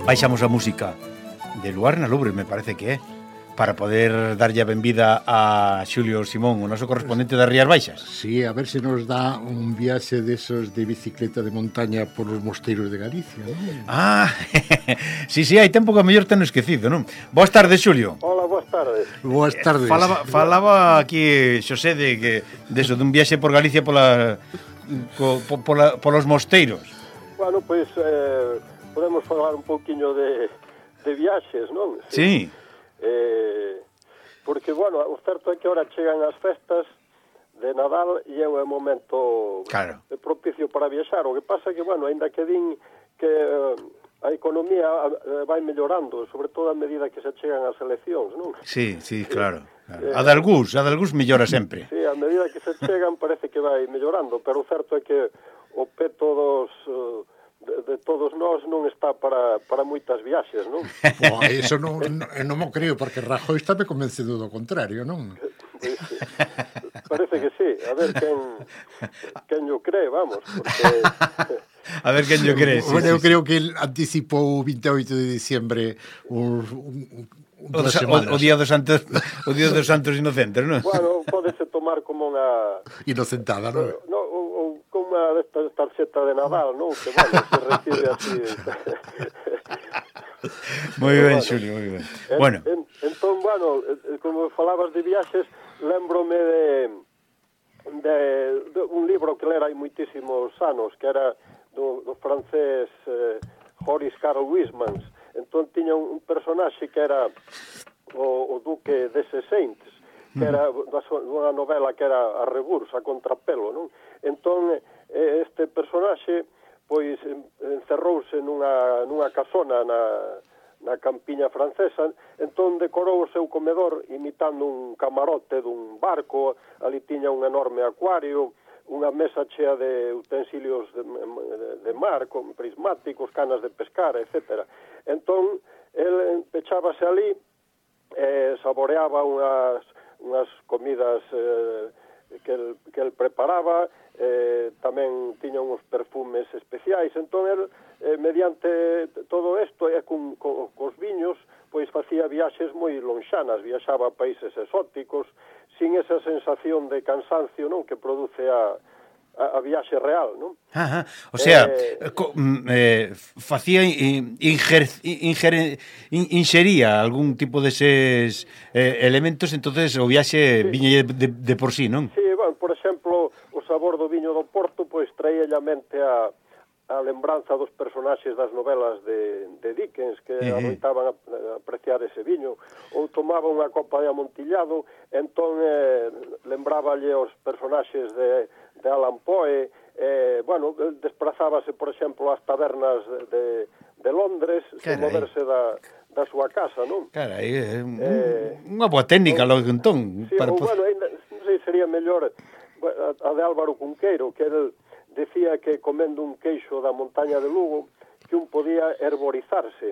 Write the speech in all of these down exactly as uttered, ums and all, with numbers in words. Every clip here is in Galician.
Baixamos a música de Luarna Lubre, me parece que é, para poder darlle a benvida a Xulio Simón, o noso correspondente das Rías Baixas. Sí, a ver se nos dá un viaxe desos de bicicleta de montaña por os mosteiros de Galicia, non? Ah, sí, sí, hai tempo que a mellor ten esquecido, non? Boas tardes, Xulio. Hola, boas tardes. Boas tardes. Falaba, falaba aquí Xosé de que de eso, dun viaxe por Galicia pola, co, po, pola, polos mosteiros. Bueno, pois pues, eh, podemos falar un pouquiño de, de viaxes, non? Sí. Eh, porque, bueno, o certo é que ahora chegan as festas de Nadal e é un momento claro. propicio para viaxar. O que pasa é que, bueno, ainda que din que eh, a economía eh, vai mellorando, sobre todo a medida que se chegan as eleccións, non? Sí, sí, claro. claro. A de algús, a de algús mellora sempre. Sí, a medida que se chegan parece que vai mellorando, pero o certo é que o peto dos... Uh, De, de todos nós non está para, para moitas viaxes, non? Pô, eso non, non, non mo creo, porque Rajoy está me convencido do contrario, non? Pues, parece que sí, a ver quen, quen yo cree, vamos, porque... A ver quen yo cree, sí, bueno, sí, eu sí. creo que el anticipou o veinte e oito de diciembre un... un O, o, o día dos santos o día dos santos inocentes, non? Bueno, pódese tomar como unha inocentada, non? No, ou, ou como unha destas tarxeta de Nadal, non? Que bueno, se recibe así. Moi ben, Xulio, moi ben. En, bueno, en, entón, bueno, como falabas de viaxes, lembrome de, de, de un libro que lera hai moitísimos anos, que era do, do francés eh, Horace Carl Wismans. Entón tiña un, un personaxe que era o, o duque de Sesentes, que era unha novela que era a reburs, a contrapelo, non? Entón este personaxe pois encerrouse nunha, nunha casona na, na campiña francesa, entón decorou o seu comedor imitando un camarote dun barco, ali tiña un enorme acuario, unha mesa chea de utensilios de, de, de mar, con prismáticos, canas de pescar, etcétera. Entón, el pechábase ali eh, saboreaba unhas, unhas comidas eh, que el, que el preparaba, eh, tamén tiña uns perfumes especiais, entón el, eh, mediante todo isto e con, con, cos viños, pois facía viaxes moi lonxanas, viaxaba a países exóticos, sin esa sensación de cansancio, non, que produce a, a, a viaxe real, non? Ajá. O sea, eh, co, eh, facía inger, inger, inxería algún tipo deses eh, elementos, entonces o viaxe sí. viña de, de por sí, non? Sí, bueno, por exemplo, o sabor do viño do Porto, pois traía a mente a a lembranza dos personaxes das novelas de, de Dickens que uh-huh. adoitaban a, a apreciar ese viño, ou tomaba unha copa de amontillado, entón eh, lembráballe os personaxes de, de Alan Poe, eh, bueno, desprazábase, por exemplo, ás tabernas de, de Londres, sen moverse da, da súa casa, non? Carai, é un, eh, unha boa técnica, ou, logo, entón. Sí, para... ou, bueno, ainda, non sei, sería mellor a, a de Álvaro Cunqueiro, que era el decía que comendo un queixo da montaña de Lugo que un podía herborizarse,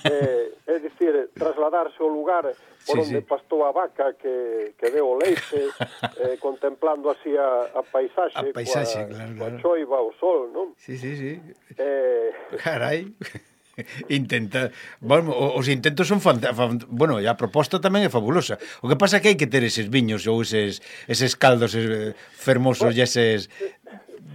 eh, é dicir, trasladarse ao lugar por sí, onde sí. pastou a vaca que, que deu o leite, eh, contemplando así a, a paisaxe, a paisaxe coa, claro, coa claro. choiva, o sol, non? Sí, sí, sí. Eh... Carai. Intenta, bueno, os intentos son fantásticos. Bueno, e a proposta tamén é fabulosa. O que pasa é que hai que ter eses viños ou eses, eses caldos fermosos bueno, e eses...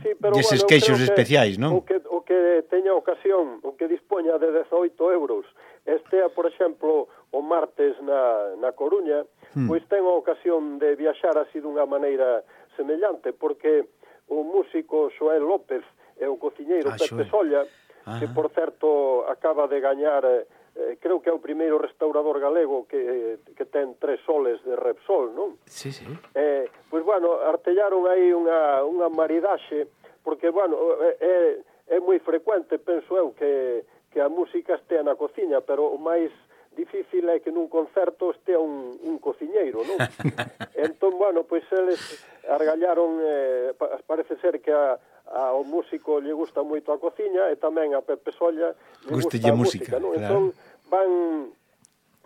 Sí, pero, e eses bueno, queixos que especiais, non? O que, o que teña ocasión, o que dispoña de dezoito euros, estea, por exemplo, o martes na, na Coruña, hmm. pois ten a ocasión de viaxar así dunha maneira semellante, porque o músico Xoel López e o cociñeiro ah, Pepe Solla, ah. que, por certo, acaba de gañar... Eh, creo que é o primeiro restaurador galego que, que ten tres soles de Repsol, non? Sí, sí. Eh, pois, bueno, artellaron aí unha, unha maridaxe, porque, bueno, é, é moi frecuente, penso eu, que, que a música estea na cociña, pero o máis difícil é que nun concerto estea un, un cociñeiro, non? Entón, bueno, pois eles argallaron, eh, parece ser que a ao músico lle gusta moito a cociña e tamén a Pepe Solla lle gusta a música, non? Claro. Entón van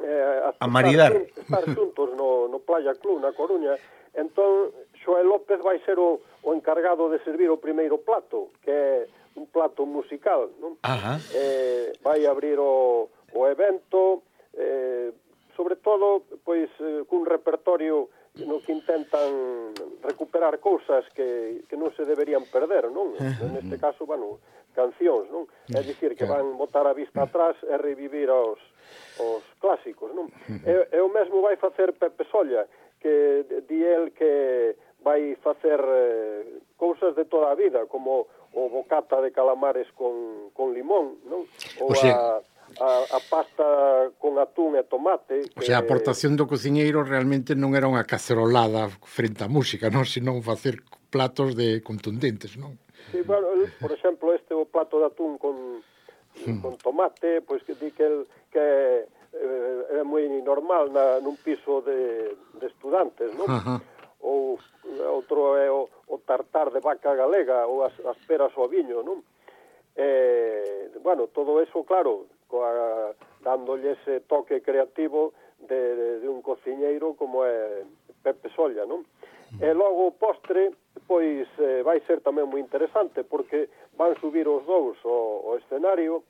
eh, a, a maridar estar xuntos no, no Playa Club na Coruña. Entón Xoel López vai ser o, o encargado de servir o primeiro plato, que é un plato musical, non? Ajá. Eh, vai abrir o, o evento, eh, sobre todo, pois, eh, cun repertorio no que intentan recuperar cousas que, que non se deberían perder, non? Neste caso, bueno, cancións, non? É dicir, que van botar a vista atrás e revivir os, os clásicos, non? E, e o mesmo vai facer Pepe Solla, que di el que vai facer eh, cousas de toda a vida, como o bocata de calamares con, con limón, non? Ou o sea... a... A, a pasta con atún e tomate. Que... O sea, a aportación do cociñeiro realmente non era unha cacerolada frente á música, non? Senón facer platos de contundentes, non? Sí, bueno, el, por exemplo, este o plato de atún con, hmm. con tomate, pois que di que, el, que eh, é moi normal na, nun piso de, de estudantes, non? Ajá. Ou outro é o, o tartar de vaca galega ou as, as peras ao viño, non? Eh, bueno, todo eso, claro, coa, dándolle ese toque creativo de, de, de un cociñeiro como é Pepe Solla, non? E logo o postre, pois, eh, vai ser tamén moi interesante, porque van subir os dous ao, ao escenario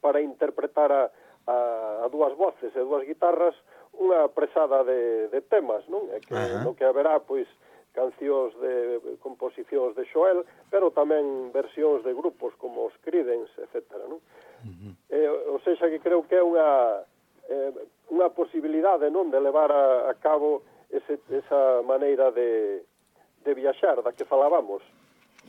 para interpretar a, a, a dúas voces e dúas guitarras unha presada de, de temas, non? E que, no que haberá, pois, cancións de composicións de Xoel, pero tamén versións de grupos como os Creedence, etcétera, non? Uh-huh. Eh, ou seja, que creo que é unha eh, unha posibilidade, non, de levar a, a cabo ese, esa maneira de, de viaxar da que falábamos.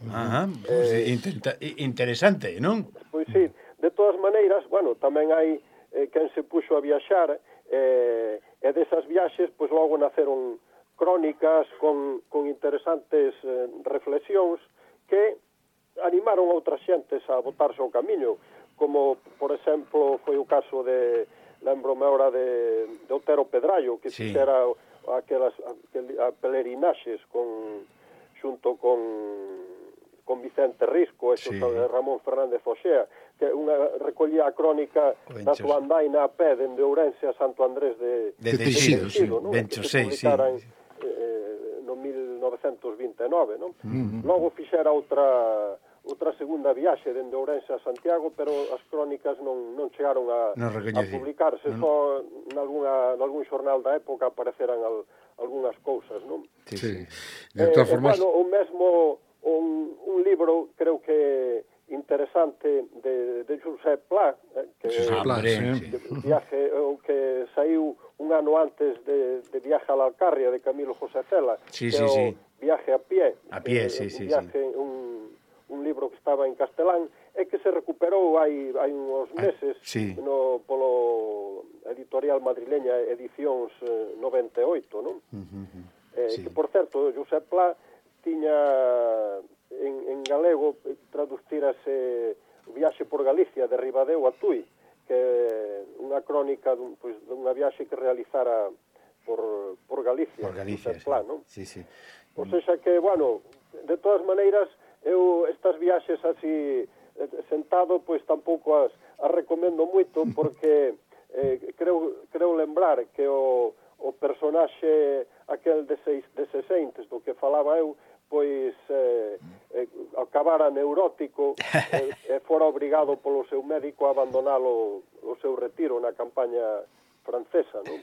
Ajá, pues eh, intenta, interesante, non? Pois sí, de todas maneiras, bueno, tamén hai eh, quen se puxo a viaxar eh, e desas viaxes, pois logo naceron crónicas con, con interesantes eh, reflexións que animaron a outras xentes a botarse ao camiño, como, por exemplo, foi o caso de, lembrome ahora de, de Otero Pedrallo, que sí. fixera aquelas aquel, a pelerinaxes con, xunto con, con Vicente Risco e sí. Ramón Fernández Oxea. que unha recollía a crónica da súa andaina a pé dende Ourense a Santo Andrés de, de, de, de Teixido, sí, ¿no? Bencho Que se seis, publicara sí. en, eh, no mil novecentos vinte e nove, non? Uh -huh. Logo fixera outra outra segunda viaxe dende Ourense a Santiago, pero as crónicas non, non chegaron a, no a publicarse, no, só nalgúna, nalgún xornal da época apareceran al, algunhas cousas, non? Sí, sí. De todas eh, formas... Bueno, o mesmo, un, un libro, creo que interesante, de, de Josep Pla, eh, que, Josep Pla, sí. que, viaje, o que saiu un ano antes de, de Viaje a la Alcarria, de Camilo José Cela, sí, que sí, é o sí. Viaje a pie. A pie, que, sí, un sí, viaje, sí. Un, un libro que estaba en castelán, e que se recuperou hai, hai uns meses ah, sí. no, polo editorial madrileña Edicións eh, noventa e oito, non? Uh -huh. eh, sí. Que, por certo, Josep Pla tiña en, en galego traducirase Viaxe por Galicia, de Ribadeo a Tui, que é unha crónica dun, pues, dunha viaxe que realizara por, por Galicia, por Galicia, Josep Pla, sí. non? Sí, sí. O sea que, bueno, de todas maneiras, eu estas viaxes así sentado, pois tampouco as, as recomendo moito, porque eh, creo, creo lembrar que o, o personaxe aquel de, seis, de sesenta do que falaba eu, pois eh, eh, acabara neurótico e eh, fora obrigado polo seu médico a abandonar o, o seu retiro na campaña francesa, non?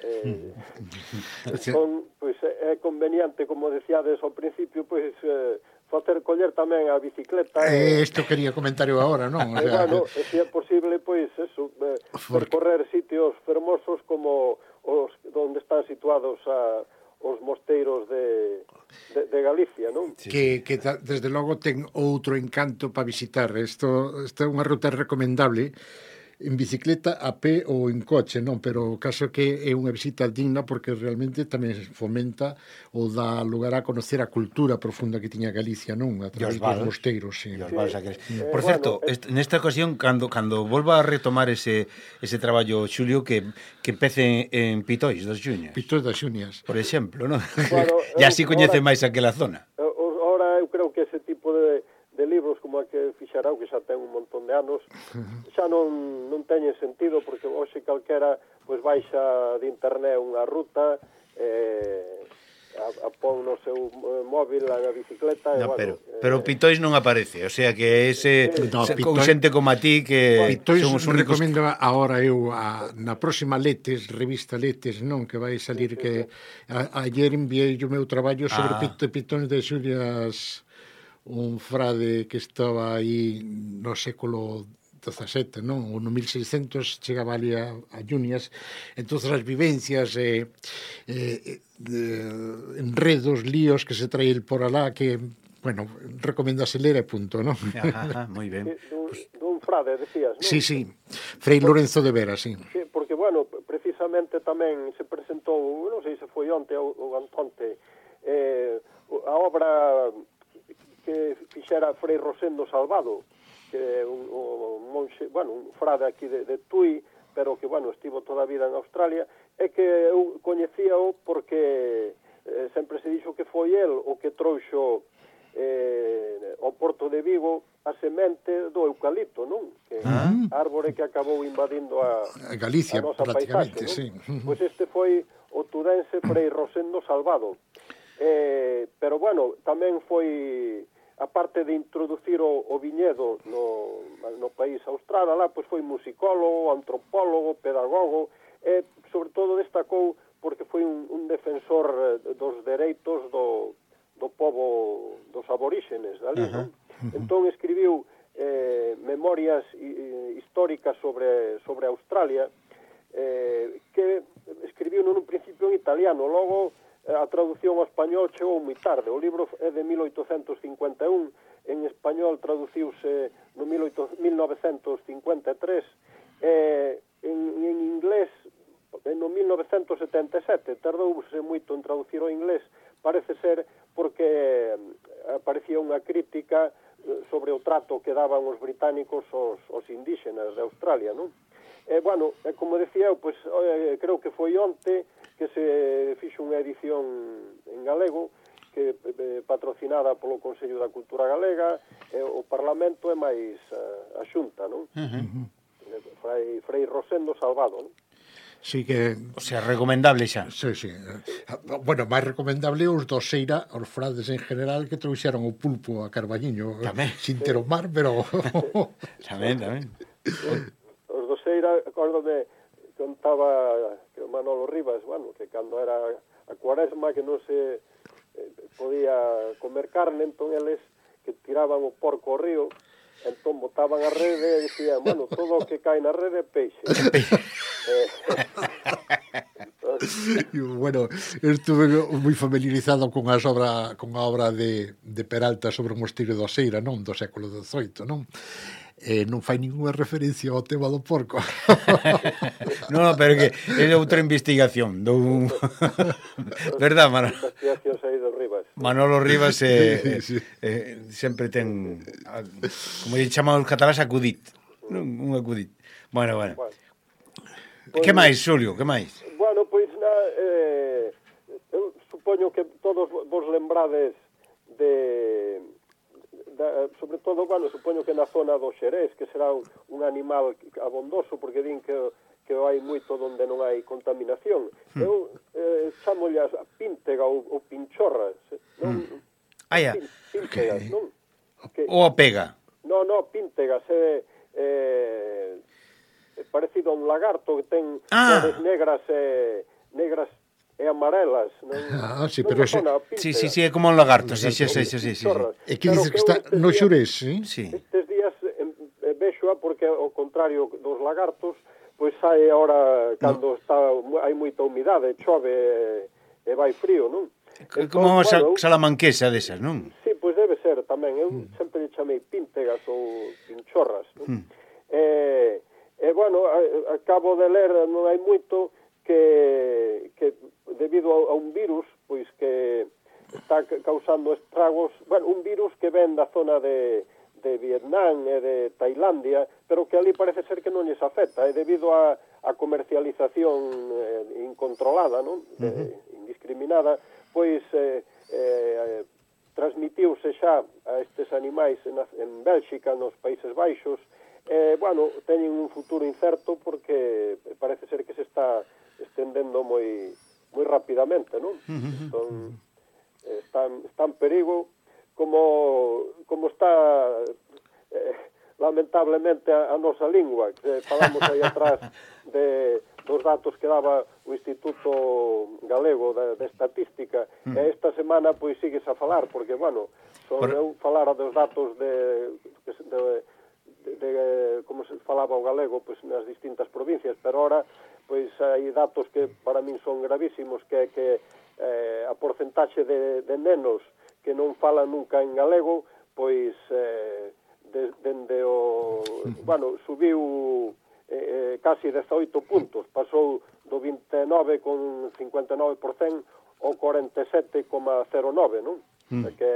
Eh, con, pois, é conveniente, como decíades ao principio, pois eh, facer coller tamén a bicicleta. Eh, isto quería comentar eu agora, non? O sea, bueno, que... se é posible, pois, eso, eh, percorrer sitios fermosos como os onde están situados a, os mosteiros de, de, de Galicia, non? Sí. Que, que desde logo ten outro encanto para visitar. Isto, isto é unha ruta recomendable en bicicleta, a pé ou en coche, non? Pero o caso que é unha visita digna porque realmente tamén fomenta ou dá lugar a conocer a cultura profunda que tiña Galicia, non? A través dos mosteiros, sí. sí. sí. Por certo, bueno, est nesta ocasión, cando cando volva a retomar ese ese traballo, Xulio, que que empece en Pitois das Xuñas. Pitois das Xuñas. Por exemplo, non? Bueno, e así coñece máis aquela zona. Ahora eu creo que ese tipo de de libros como a que fixará, que xa ten un montón de anos, xa non, non teñen sentido, porque hoxe calquera pois baixa de internet unha ruta, eh, a, a pon no seu móvil a bicicleta, no, e, bueno, pero, eh, pero Pitois non aparece, o sea que ese eh, no, se, con xente como a ti que Pitois somos únicos... recomendo agora eu a, na próxima Letes, revista Letes, non, que vai salir, sí, sí, que sí. A, ayer enviei o meu traballo sobre ah. Pitois de Xulias, un frade que estaba aí no século dezasete, non? Ou no mil seiscentos chegaba ali a, a Xuñas, entonces as vivencias e eh, eh, enredos, líos que se trae por alá que, bueno, recomendase ler e punto, non? Ajá, moi ben. Dun, dun frade, decías, non? Sí, sí, Frei Lorenzo de Vera, sí. Sí, porque, bueno, precisamente tamén se presentou, non sei se foi onte ou, ou antonte, eh, a obra que fixera Frei Rosendo Salvado, que é un, un monxe, bueno, un frade aquí de, de Tui, pero que, bueno, estivo toda a vida en Australia, e que eu coñecíao porque eh, sempre se dixo que foi el o que trouxo eh, ao Porto de Vigo a semente do eucalipto, non? Que ah. árbore que acabou invadindo a, a Galicia, a nosa prácticamente, paisaxe, sí. Pois este foi o tudense Frei Rosendo Salvado. Eh, pero, bueno, tamén foi... aparte de introducir o, o viñedo no, no país austral, lá, pois foi musicólogo, antropólogo, pedagogo, e sobre todo destacou porque foi un, un defensor dos dereitos do, do povo dos aboríxenes ali, uh-huh. non? Entón escribiu eh, memorias eh, históricas sobre, sobre Australia, eh, que escribiu nun principio en italiano, logo a traducción ao español chegou moi tarde. O libro é de mil oitocentos cincuenta e un, en español traduciuse no mil novecentos cincuenta e tres, e en, en inglés no mil novecentos setenta e sete. Tardouse moito en traducir ao inglés, parece ser porque aparecía unha crítica sobre o trato que daban os británicos aos, aos indígenas de Australia, non? E, bueno, como decía eu, pois, eh, creo que foi onte que se fixo unha edición en galego que eh, patrocinada polo Consello da Cultura Galega, e o Parlamento é máis uh, a Xunta, non? Uh -huh. Frai, Frei Rosendo Salvado, non? Sí que... O sea, recomendable xa. Sí, sí. Bueno, máis recomendable os do Seira, os frades en general, que trouxeron o pulpo a Carballiño. Tamén. Sin ter o mar, pero... Tamén, tamén. Os do Seira, acórdome, contaba que o Manolo Rivas, bueno, que cando era a cuaresma que non se eh, podía comer carne, entón eles que tiraban o porco ao río, entón botaban a rede e dicían, bueno, todo o que cae na rede é peixe. eh, bueno, estuve moi familiarizado con as obra, con a obra de, de Peralta sobre o mosteiro do Seira, non? Do século dezoito, non? Eh, non fai ninguna referencia ao tema do porco. No, pero que é outra investigación do verdad, Manolo? Investigacións aí do Rivas. Manolo Rivas eh, Sí, sí. eh, sempre ten, como lle chaman os catalás, acudit, non? Un acudit. Bueno, bueno. Bueno. Que máis, Xulio, que máis? Bueno, pois na, eh, eu supoño que todos vos lembrades de, de sobre todo, bueno, supoño que na zona do Xerés, que será un, un animal abondoso, porque din que que hai moito onde non hai contaminación. Hmm. Eu eh, chamolle a píntega ou, ou pinchorras, non? Hmm. Ah, ya. Píntegas, okay. Non? Que, Ou a pega? No, no, píntegas, é eh, eh, parecido a un lagarto que ten ah. cores negras e negras e amarelas, non? Ah, sí, non pero ese... Sí, sí, sí, é como un lagarto, sí, sí, sí, sí, sí, sí. E que dices que está no Xurés, sí? Sí. Estes días eh, vexoa porque ao contrario dos lagartos, pois sai agora cando no. está hai moita humidade, chove e, e vai frío, non? Como unha bueno, salamanquesa desas, non? Sí, pois debe ser tamén. Eu mm. sempre lle chamei píntegas ou pinchorras, non? Mm. E, e, bueno, a, a cabo de ler non hai moito que, que debido a, a un virus, pois que está causando estragos, bueno, un virus que ven da zona de de Vietnam e de Tailandia, pero que ali parece ser que non lles afecta, e debido a, a comercialización eh, incontrolada, non? De, uh -huh. indiscriminada, pois eh, eh, transmitiuse xa a estes animais en, en Bélxica, nos Países Baixos, e, eh, bueno, teñen un futuro incerto porque parece ser que se está estendendo moi moi rapidamente, non? Uh -huh. Entón, está, está en perigo, como como está eh, lamentablemente a, a nosa lingua, que falamos aí atrás de dos datos que daba o Instituto Galego de, de Estatística, mm. e esta semana pois sigues a falar, porque, bueno, son Por... eu falar dos datos de, de, de, de, de como se falaba o galego pois nas distintas provincias, pero ahora pois hai datos que para min son gravísimos, que é que eh, a porcentaxe de, de nenos que non falan nunca en galego, pois eh, de, dende o... Bueno, subiu eh, casi dezoito puntos, pasou do vinte e nove con cincuenta e nove por cento ao cuarenta e sete coma cero nove, non? Mm. Que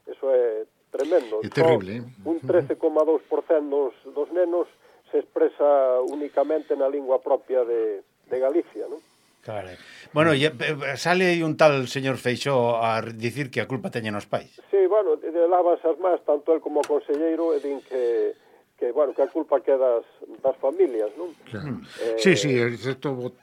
eso é tremendo. É terrible, eh? Un trece coma dous por cento dos, dos nenos se expresa únicamente na lingua propia de, de Galicia, non? Claro. Bueno, ya, sale aí un tal señor Feixóo a dicir que a culpa teñen os pais. Sí, bueno, de lavas as más, tanto el como o conselleiro, e din que, que, bueno, que a culpa que das, das familias, non? Claro. Eh, sí, sí, excepto...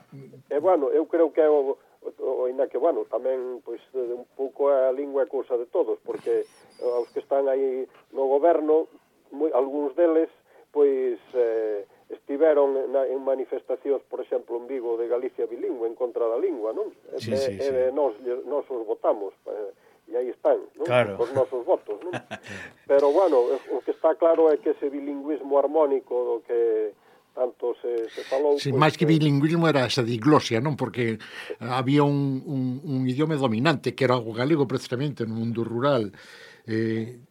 E, bueno, eu creo que é o, o, ainda que, bueno, tamén, pois, un pouco a lingua é cousa de todos, porque os que están aí no goberno, moi, algúns deles, pois... Eh, estiveron na, en manifestacións, por exemplo, en Vigo, de Galicia bilingüe, en contra da lingua, non? Sí, sí, e, sí. e nos, nos os votamos, e aí están, non? Claro. Os nosos votos, non? Pero, bueno, o que está claro é que ese bilingüismo armónico do que tanto se, se falou... Sí, pues, máis que bilingüismo era esa diglosia, non? Porque había un, un, un idioma dominante, que era o galego, precisamente, no mundo rural, eh,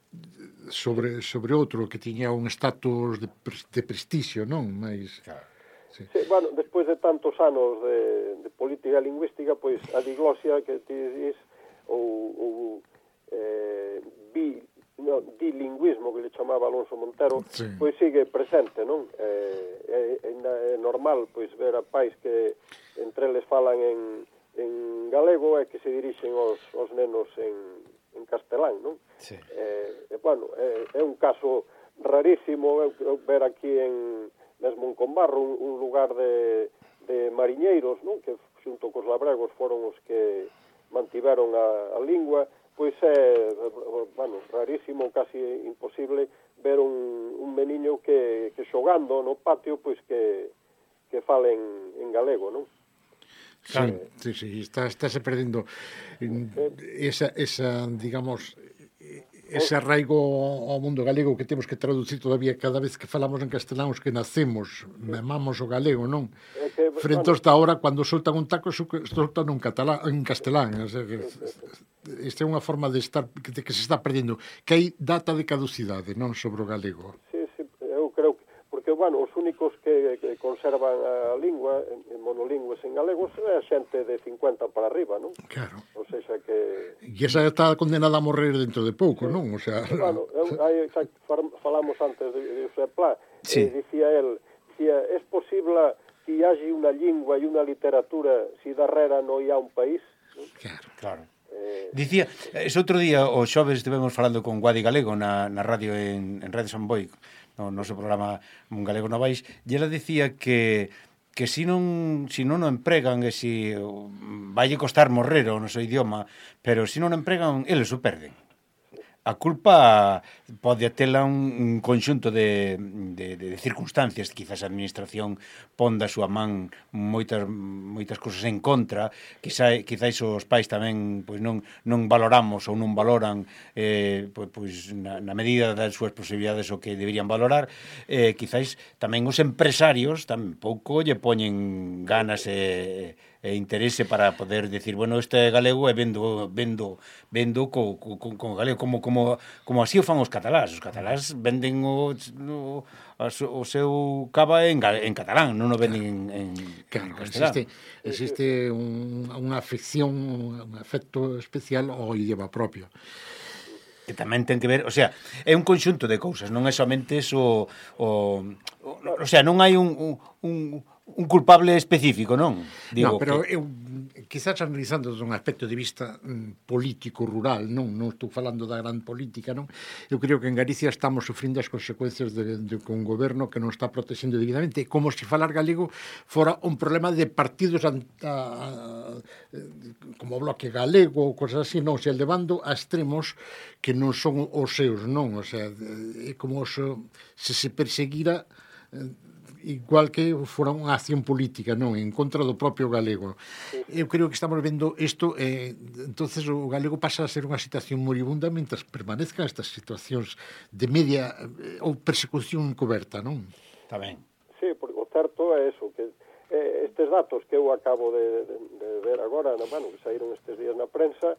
sobre sobre outro que tiña un estatus de, de prestixio, non? Mais claro. Sí. Sí, bueno, despois de tantos anos de, de política lingüística, pois a diglosia que ti dis ou, ou eh, bi, no, bilingüismo que le chamaba Alonso Montero, sí. Pois sigue presente, non? Eh, é, é normal pois ver a pais que entre eles falan en, en galego e que se dirixen aos, aos nenos en castelán, non? Sí. Eh, eh, bueno, eh, é un caso rarísimo eu, eu ver aquí en mesmo en Combarro un, un lugar de, de mariñeiros, non? Que xunto cos labregos foron os que mantiveron a, a lingua, pois é, bueno, rarísimo, casi imposible ver un, un meniño que, que xogando no patio, pois que, que fale en, en galego, non? Sí, sí, sí, está, estáse perdendo esa, esa, digamos, ese arraigo ao mundo galego que temos que traducir todavía cada vez que falamos en castelán os que nacemos, memamos o galego, non? É que, Frente bueno, hasta ahora, cando soltan un taco, soltan un catalán, en castelán. O sea, que esta é unha forma de estar que, que se está perdendo, que hai data de caducidade, non, sobre o galego. Sí, sí, eu creo que, porque, bueno, os únicos que, que conservan a lingua, en monolingües en galegos, é a xente de cincuenta para arriba, non? Claro. O seja que... E esa está condenada a morrer dentro de pouco, sí. Non? O sea... Bueno, eu, aí, xa, falamos antes de, de José Pla, sí. eh, dicía el, dicía, es posible que hagi unha lingua e unha literatura si darrera non hai un país? Claro. Claro. Eh... Dicía, ese outro día, o xoves estivemos falando con Guadi Galego na, na radio en, en Radio San Boi, no noso programa Un Galego Novais, e ela dicía que que si non, si non o empregan e si vai costar morrer o noso idioma, pero si non o empregan, eles o perden. A culpa pode tela un, un conxunto de, de, de circunstancias, quizás a administración pon da súa man moitas moitas cousas en contra, quizás, quizás os pais tamén pois non, non valoramos ou non valoran eh, pois, pois na, na medida das súas posibilidades o que deberían valorar, eh, quizás tamén os empresarios tampouco lle poñen ganas e e interese para poder decir, bueno, este é galego e vendo vendo vendo co, co, co galego como como como así o fan os catalás. Os catalás venden o, o, o seu cava en, en catalán, non o venden en, en, claro, en castelán. Existe, existe un, unha afección, un afecto especial ao idioma propio. Que tamén ten que ver, o sea, é un conxunto de cousas, non é somente eso, o, o, o sea, non hai un, un, un culpable específico, non? Digo no, pero que... eu, quizás analizando desde un aspecto de vista mm, político rural, non, non estou falando da gran política, non? Eu creo que en Galicia estamos sufrindo as consecuencias de, de, de un goberno que non está protexendo debidamente, como se falar galego fora un problema de partidos a, a, como o Bloque Galego ou cosas así, non, se levando a extremos que non son os seus, non, o sea, é como se, se se perseguira igual que fora unha acción política, non, en contra do propio galego. Eu creo que estamos vendo isto, eh, entonces o galego pasa a ser unha situación moribunda mentras permanezcan estas situacións de media eh, ou persecución encoberta, non? Está ben. Sí, porque o certo é eso, que eh, estes datos que eu acabo de, de, de ver agora, bueno, que saíron estes días na prensa,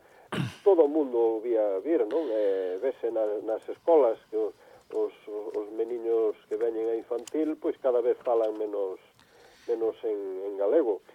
todo o mundo vía vir, non? Eh, vese na, nas escolas que os, os meniños que veñen a infantil pois cada vez falan menos menos en, en galego,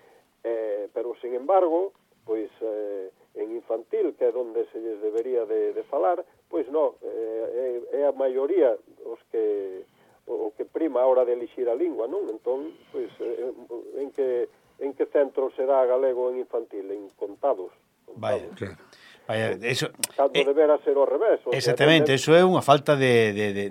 eh, pero sin embargo pois eh, en infantil, que é onde se lles debería de, de falar, pois non, eh, é, é a maioría os que o, o que prima a hora de elixir a lingua, non? Entón, pois eh, en que en que centro será galego en infantil? En contados, contados. Vaya, claro. Vaya, eso, cando eh, debera ser ao revés. O exactamente, sea, eso é unha falta de, de, de,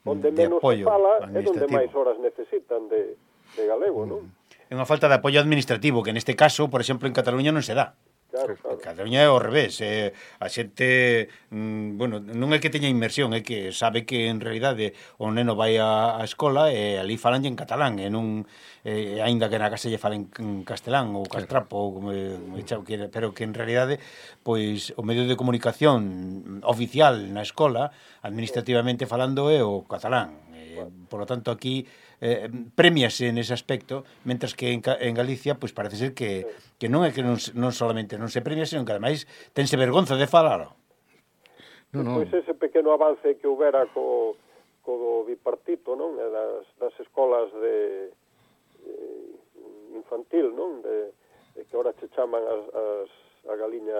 onde de menos apoio se fala é onde administrativo. máis horas necesitan de, de galego, non? É unha falta de apoio administrativo, que neste caso, por exemplo, en Cataluña non se dá. Claro, claro. Cataluña é ao revés, eh, a xente, mm, bueno, non é que teña inmersión, é que sabe que en realidade o neno vai á, á escola e ali falan en catalán, e non, eh, aínda que na casa lle falen en castelán ou castrapo, ou como, como chao, que, pero que en realidade, pois, o medio de comunicación oficial na escola, administrativamente falando, é o catalán. Eh, por lo tanto, aquí eh, premiase nese aspecto, mentras que en, en Galicia, pois parece ser que, que non é que non, non solamente non se premia, senón que ademais tense vergonza de falalo. No, no. Pois ese pequeno avance que houbera co, co bipartito, non? Das, das escolas de eh, infantil, non? De, de que ahora se chaman as, as, a galiña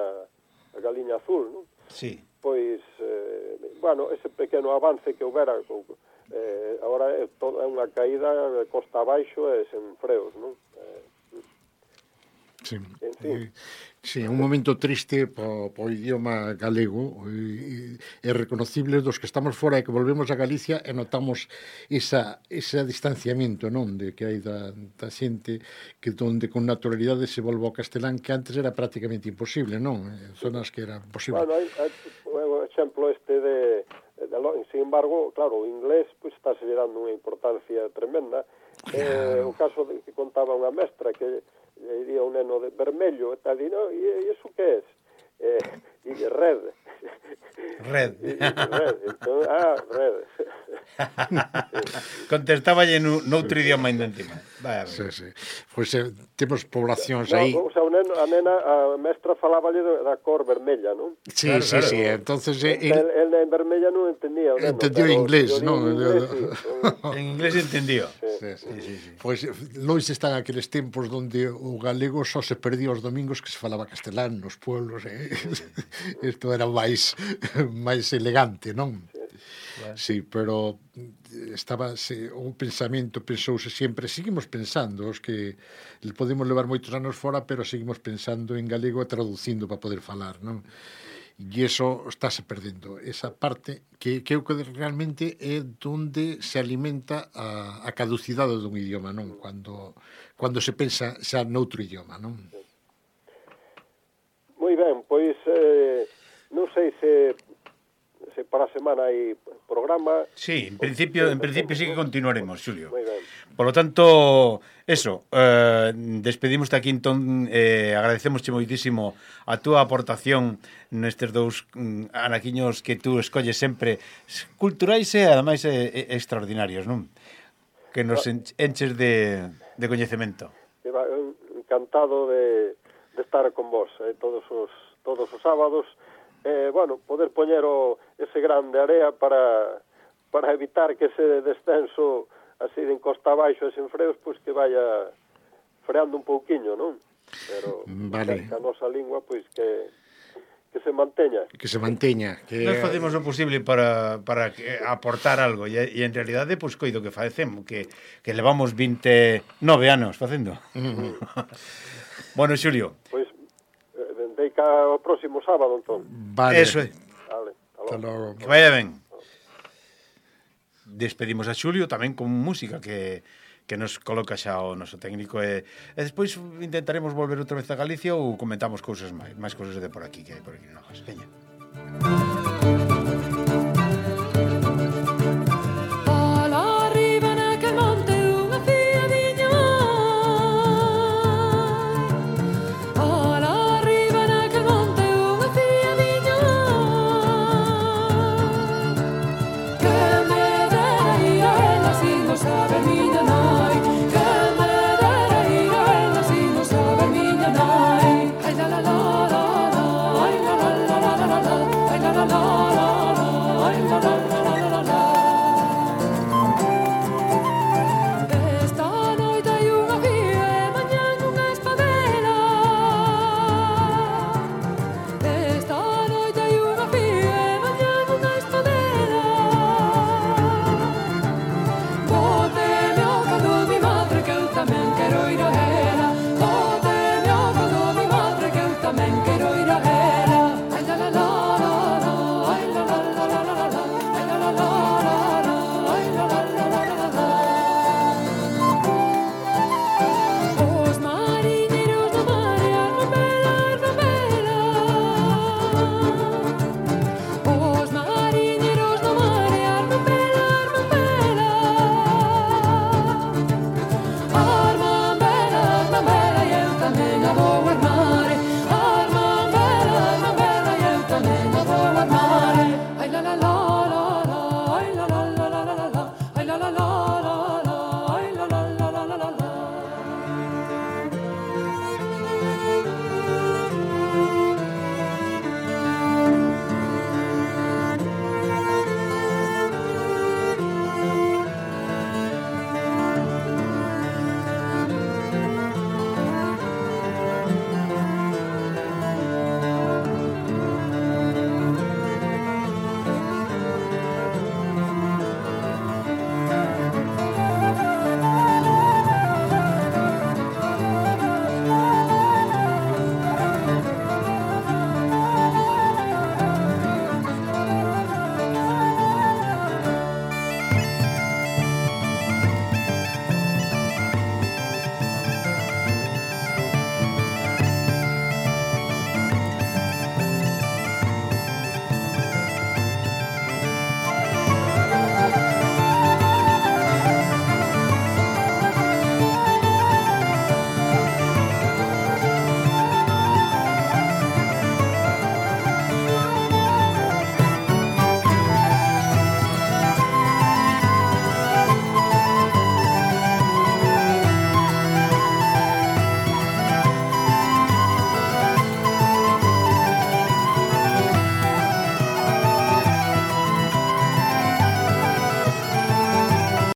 a galiña azul, non? Sí. Pois, eh, bueno, ese pequeno avance que houbera co, Eh, agora é, todo, é unha caída costa abaixo e sen freos, non? Eh, Sí. En fin. Sí, un momento triste po, po idioma galego e, e reconocible dos que estamos fora e que volvemos a Galicia e notamos esa, ese distanciamiento, non, de que hai da, da xente que donde con naturalidade se volve ao castelán, que antes era prácticamente imposible, non? En zonas que era posible. Bueno, hai, hai o exemplo este de, de sin embargo, claro, o inglés pues, está se dando unha importancia tremenda. Claro. Eh, o caso de que contaba unha mestra que e iría un neno de vermello e tal, e, no, e iso que é? Eh, e de red. Red. E, e red. Entón, ah, red. Contestáballe noutro idioma ainda encima. Vaya, sí, sí. Pois pues, eh, temos poblacións no, aí. O sea, o neno, a nena, a mestra faláballe da cor vermella, non? Sí, claro, sí, claro. sí. Entonces eh, el, el, el en vermella non entendía o neno. Entendió inglés, non? Inglés, sí. En inglés entendió. Sí, sí, sí, sí. Pois pues, lois están aqueles tempos donde o galego só se perdía os domingos que se falaba castelán nos pueblos, eh? Isto era máis máis elegante, non? Sí. Claro. Sí, pero estaba se, o pensamento pensouse sempre, seguimos pensando, os que podemos levar moitos anos fora, pero seguimos pensando en galego e traducindo para poder falar, non? E iso estáse perdendo, esa parte que, que eu que realmente é donde se alimenta a, a caducidade dun idioma, non? Cuando, cuando se pensa xa noutro idioma, non? Moi ben, pois eh, non sei se se para a semana hai programa. Sí, en principio, en principio sí que continuaremos, Xulio. Moi ben. Por lo tanto, eso, eh, despedimos aquí entón, eh, agradecemosche moitísimo a túa aportación nestes dous mm, anaquiños que tú escolles sempre culturais e ademais eh, extraordinarios, non? Que nos enches de, de coñecemento. Encantado de, de estar con vos eh, todos os todos os sábados. Eh, bueno, poder poñer o, ese gran de area para, para evitar que ese descenso así de encosta abaixo e sen freos, pois que vaya freando un pouquiño, non? Pero vale. Que a nosa lingua, pois que que se manteña. Que se manteña. Que... Nós facemos o posible para, para que, aportar algo e, e en realidade, pois, coido que facemos, que, que levamos vinte e nove anos facendo. Uh-huh. Bueno, Xulio. Pois deica o próximo sábado, entón. Vale. Eso é. Vale, hasta logo. Que vaya ben. Despedimos a Xulio tamén con música que, que nos coloca xa o noso técnico e, e despois intentaremos volver outra vez a Galicia ou comentamos cousas máis, máis cousas de por aquí que hai por aquí novas. Veña.